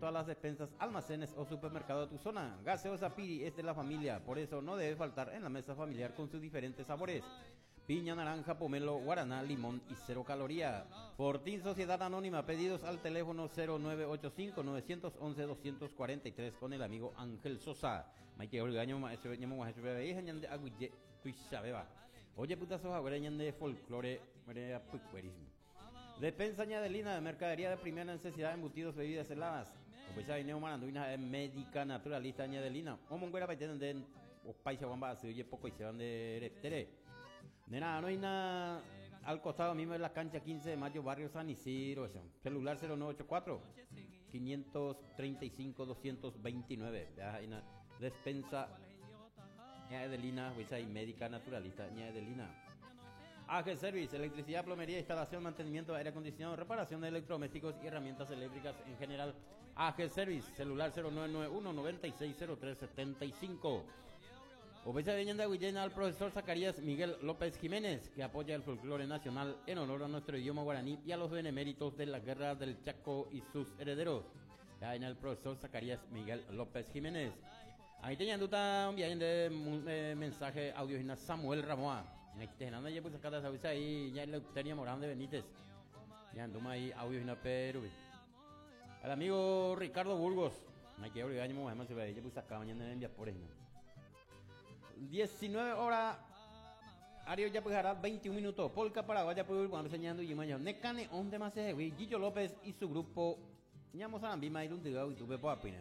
todas las despensas, almacenes o supermercado de tu zona. Gaseosa Piri es de la familia, por eso no debe faltar en la mesa familiar con sus diferentes sabores. Piña, naranja, pomelo, guaraná, limón y cero caloría. Fortín Sociedad Anónima, pedidos al teléfono 0985 911 243 con el amigo Ángel Sosa. Oye, folclore, Despensa Ñadelina de mercadería de primera necesidad, embutidos, bebidas heladas. Opecha vineo maranduina médica naturalista Ñadelina. O monguera paitén de o paisa guamba así oye poco y se van de tere. Nena, no hay nada al costado mismo de la cancha 15 de mayo, barrio San Isidro. Eso. Celular 0984 535 229. Ya, hay una despensa Ñadelina, y médica naturalista Ñadelina. AG Service, electricidad, plomería, instalación, mantenimiento de aire acondicionado, reparación de electrodomésticos y herramientas eléctricas en general. AG Service, celular 0991 960375. Obesa de al profesor Zacarías Miguel López Jiménez, que apoya el folclore nacional en honor a nuestro idioma guaraní y a los beneméritos de la Guerra del Chaco y sus herederos. Ya en el profesor Zacarías Miguel López Jiménez. Ahí tenían un viaje de mensaje audio Samuel Ramoa. Ahí ya pues acá ahí ya Eleuteria Morán de Benítez. Ya anduma ahí audio Perú. Al amigo Ricardo Burgos. Hay que obligar a se ve, ya pues acá mañana en por ahí. 19 horas. Ario ya pues hará 21 minutos. Polka Paraguaya pues cuando enseñando y mañana. Necane onde más se Gillo López y su grupo. Ñamos a Ambima y un y tuve por apina.